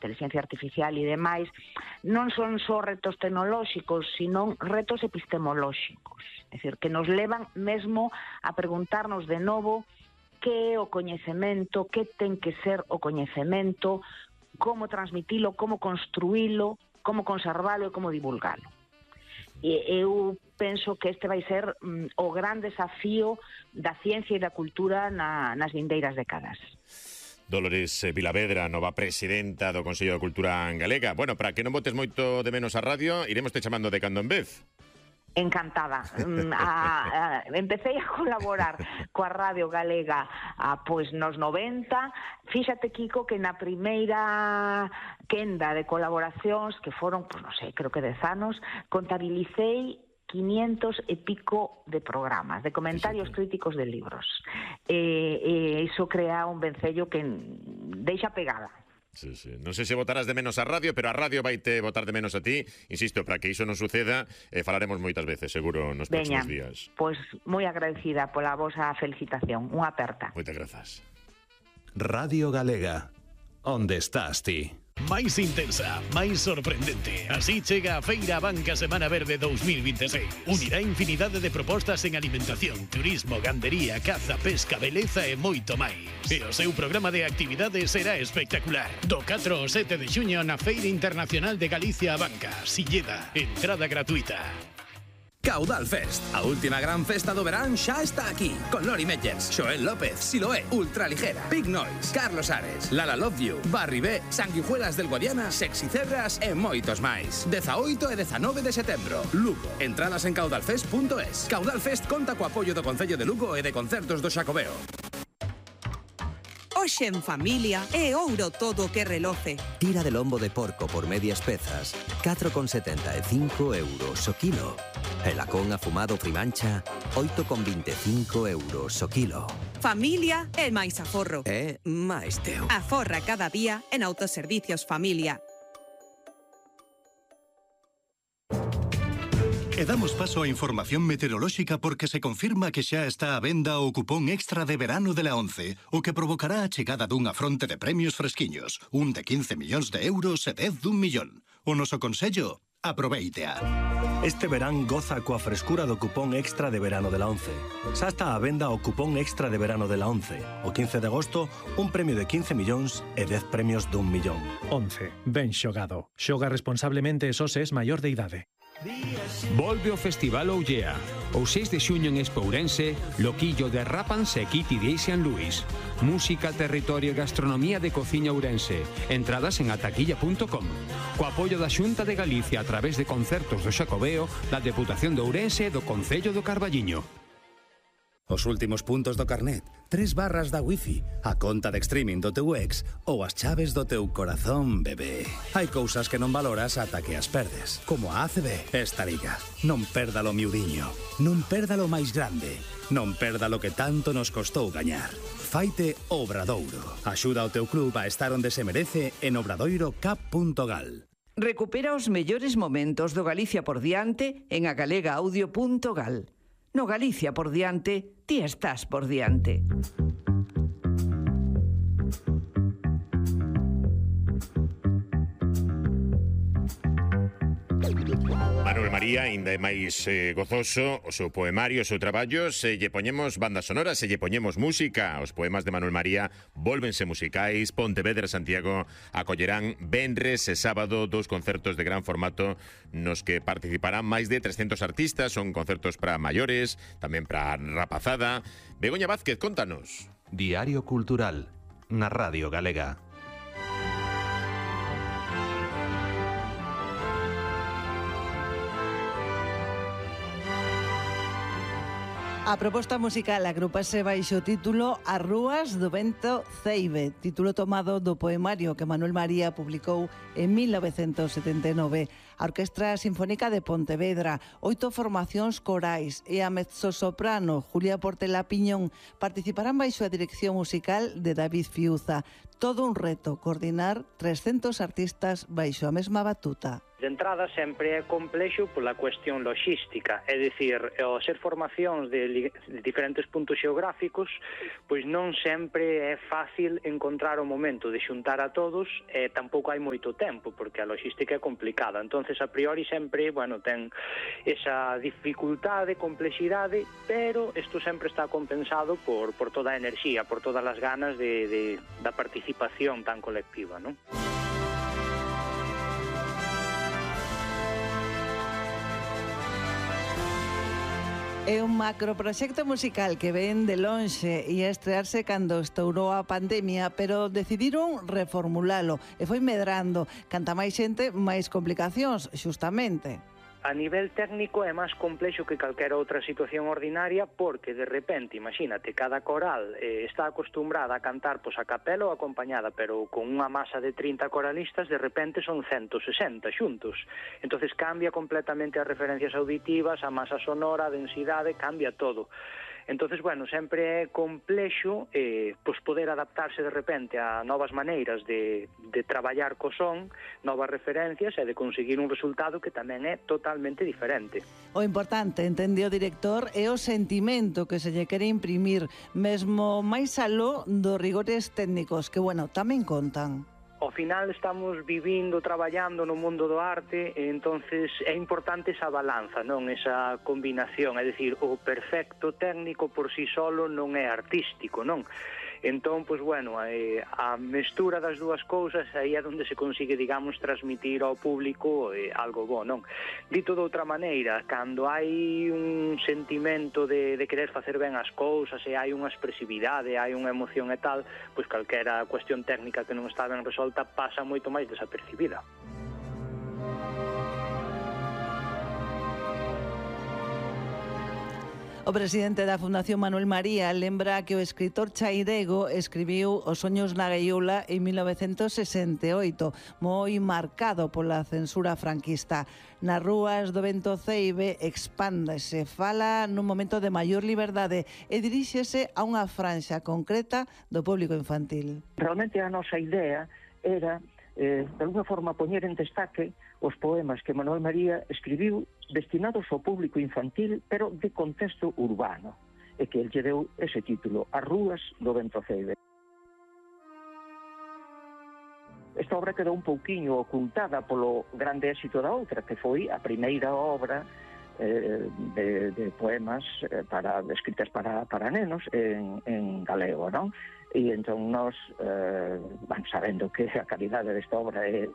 inteligencia artificial e demais, non son só retos tecnolóxicos, sino retos epistemolóxicos. É dicir, que nos levan mesmo a preguntarnos de novo que é o coñecemento, que ten que ser o coñecemento, como transmitilo, como construílo, como conservalo e como divulgalo. E eu penso que este vai ser o gran desafío da ciencia e da cultura nas vindeiras décadas. Dolores Vilavedra, nova presidenta do Consello de Cultura Galega. Bueno, para que non botes moito de menos a radio, iremos te chamando de cando en vez. Encantada. Empecé a colaborar coa Radio Galega pois nos 90. Fíxate, Kiko, que na primeira quenda de colaboracións, que foron, pois non sei, creo que 10 anos, contabilicei 500 e pico de programas, de comentarios críticos de libros. Iso crea un vencello que deixa pegada. Sí. Non sei se botarás de menos a radio, pero a radio vai te botar de menos a ti. Insisto, para que iso non suceda, falaremos moitas veces, seguro, nos próximos días. Pois moi agradecida pola vosa felicitación. Unha aperta. Moitas grazas. Radio Galega. Onde estás ti? Máis intensa, máis sorprendente. Así chega a Feira Abanca Semana Verde 2026. Unirá infinidade de propostas en alimentación, turismo, gandería, caza, pesca, beleza e moito máis. E o seu programa de actividades será espectacular. Do 4 ao 7 de xuño na Feira Internacional de Galicia Abanca, Silleda. Entrada gratuita. Caudal Fest, a última gran festa do verán xa está aquí, con Lori Meyers, Xoel López, Siloé, Ultraligera, Big Noise, Carlos Ares, Lala Love You, Barry B, Sanguijuelas del Guadiana, Sexy Cerras e moitos máis. 18 e 19 de setembro, Lugo. Entradas en caudalfest.es. Caudal Fest conta co apoio do Concello de Lugo e de Concertos do Xacobeo. Hoxe en familia é ouro todo o que reloce. Tira de lombo de porco por medias pezas, 4,75 euros o kilo. E lacón afumado Frimancha, 8,25 euros o kilo. Familia é máis aforro. É máis teu. Aforra cada día en Autoservicios Familia. E damos paso á información meteorolóxica porque se confirma que xa está á venda o cupón extra de verano de la 11, o que provocará a chegada dunha fronte de premios fresquiños, un de 15 millóns de euros e 10 d'1 millón. O noso consello, aproveítea. Este verán goza coa frescura do cupón extra de verano de la 11. Xa está á venda o cupón extra de verano de la 11. O 15 de agosto, un premio de 15 millóns e 10 premios d'1 millón. 11. Ben xogado. Xoga responsablemente e só se es maior de idade. Volve o Festival Ollea. O 6 de xuño en Espourense, Loquillo de Rápanse e Kitty de San Luis. Música, territorio e gastronomía de cociña ourense. Entradas en ataquilla.com. Co apoio da Xunta de Galicia a través de Concertos do Xacobeo, da Deputación de Ourense e do Concello do Carballiño. Os últimos puntos do carnet, 3 barras da wifi, a conta de streaming do teu ex ou as chaves do teu corazón, bebé. Hai cousas que non valoras ata que as perdes, como a ACB. Esta liga, non perdalo miudiño, non perdalo máis grande, non perdalo que tanto nos costou gañar. Faite Obradoiro. Axuda ao teu club a estar onde se merece en obradoirocap.gal. Recupera os mellores momentos do Galicia por diante en agalegaudio.gal. No Galicia por diante, ti estás por diante. Manuel María, ainda é máis gozoso o seu poemario, o seu traballo. Se lle poñemos bandas sonoras, se lle poñemos música. Os poemas de Manuel María volvense musicais. Pontevedra e Santiago acollerán venres e sábado 2 concertos de gran formato nos que participarán máis de 300 artistas. Son concertos para maiores, tamén para rapazada. Begoña Vázquez, contanos. Diario Cultural, na Radio Galega. A proposta musical agrupase baixo o título As rúas do vento ceibe, título tomado do poemario que Manuel María publicou en 1979. A Orquestra Sinfónica de Pontevedra, 8 formacións corais e a mezzosoprano Julia Portela Piñón participarán baixo a dirección musical de David Fiuza. Todo un reto coordinar 300 artistas baixo a mesma batuta. De entrada sempre é complexo pola cuestión logística, é dicir, ao ser formacións de diferentes puntos xeográficos, pois non sempre é fácil encontrar o momento de xuntar a todos e tampouco hai moito tempo, porque a logística é complicada. Entonces, a priori sempre, bueno, ten esa dificultade, complexidade, pero isto sempre está compensado por toda a enerxía, por todas as ganas da participación tan colectiva, non? É un macroproxecto musical que ven de lonxe e a estrearse cando estourou a pandemia, pero decidiron reformulalo e foi medrando. Canta máis xente, máis complicacións, xustamente. A nivel técnico é máis complexo que calquera outra situación ordinaria porque, de repente, imagínate, cada coral está acostumbrada a cantar a capela ou acompañada, pero con unha masa de 30 coralistas, de repente son 160 xuntos. Entonces cambia completamente as referencias auditivas, a masa sonora, a densidade, cambia todo. Entonces, bueno, sempre é complexo poder adaptarse de repente a novas maneiras de traballar co son, novas referencias e de conseguir un resultado que tamén é totalmente diferente. O importante, entende o director, é o sentimento que se lle quere imprimir, mesmo máis aló dos rigores técnicos, que, bueno, tamén contan. Ao final estamos vivindo, traballando no mundo do arte e entonces é importante esa balanza, non? Esa combinación, é dicir, o perfecto técnico por si solo non é artístico, non? Entón, pois, bueno, a mestura das dúas cousas aí é onde se consigue, digamos, transmitir ao público algo bo, non? Dito de outra maneira, cando hai un sentimento de querer facer ben as cousas e hai unha expresividade, hai unha emoción e tal, pois calquera cuestión técnica que non está ben resolta pasa moito máis desapercibida. O presidente da Fundación Manuel María lembra que o escritor chairego escribiu Os soños na gaiola en 1968, moi marcado pola censura franquista. Nas rúas do Vento Ceibe expándese, fala nun momento de maior liberdade e diríxese a unha franxa concreta do público infantil. Realmente a nosa idea era de alguna forma poñer en destaque os poemas que Manuel María escribiu destinados ao público infantil, pero de contexto urbano, e que el lle deu ese título, As rúas do Vento Ceibe. Esta obra quedou un pouquiño ocultada polo grande éxito da outra, que foi a primeira obra de poemas escritas para nenos en galego, non? E entón nós, sabendo que a calidade desta obra é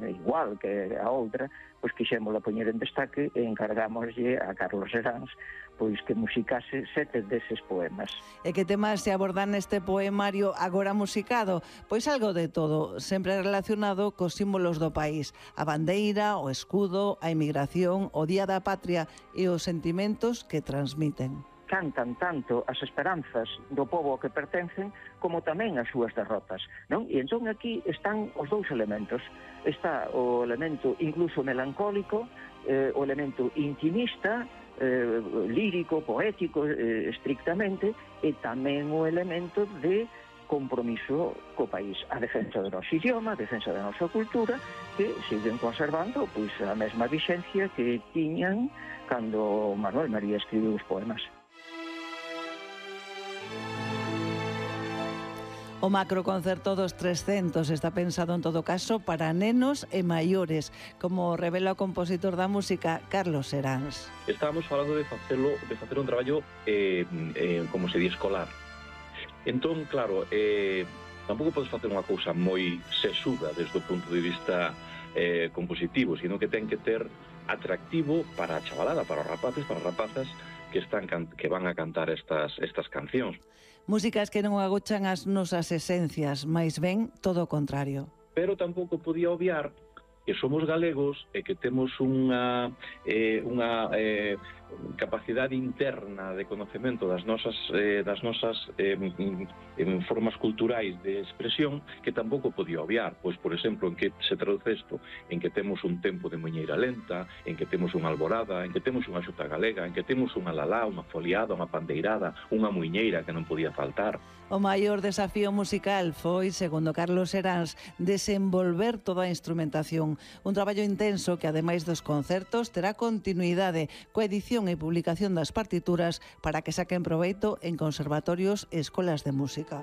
igual que a outra, pois quixémola poñer en destaque e encargámoslle a Carlos Seráns pois que musicase 7 deses poemas. E que temas se abordan neste poemario agora musicado? Pois algo de todo, sempre relacionado cos símbolos do país, a bandeira, o escudo, a emigración, o Día da Patria e os sentimentos que transmiten. Cantan tanto as esperanzas do pobo ao que pertencen como tamén as súas derrotas, non? E entón aquí están os dous elementos. Está o elemento incluso melancólico, o elemento intimista, lírico, poético, estrictamente, e tamén o elemento de compromiso co país, a defensa do noso idioma, a defensa da nosa cultura, que siguen conservando pois a mesma vixencia que tiñan cando Manuel María escribiu os poemas. O macroconcerto dos 300 está pensado en todo caso para nenos e maiores, como revela o compositor da música Carlos Seráns. Estábamos falando de facer un traballo como se di escolar. Entón, claro, tampouco podes facer unha cousa moi sesuda desde o punto de vista compositivo, sino que ten que ter atractivo para a chavalada, para os rapaces, para as rapazas que van a cantar estas cancións. Músicas que non agochan as nosas esencias, máis ben todo o contrario. Pero tampouco podía obviar que somos galegos e que temos unha capacidade interna de conocemento das nosas formas culturais de expresión que tampouco podía obviar, pois, por exemplo, en que se traduce isto, en que temos un tempo de muñeira lenta, en que temos unha alborada, en que temos unha xuta galega, en que temos unha lalá, unha foliada, unha pandeirada, unha muiñeira que non podía faltar. O maior desafío musical foi, segundo Carlos Heráns, desenvolver toda a instrumentación. Un traballo intenso que, ademais dos concertos, terá continuidade coa edición e publicación das partituras para que saquen proveito en conservatorios e escolas de música.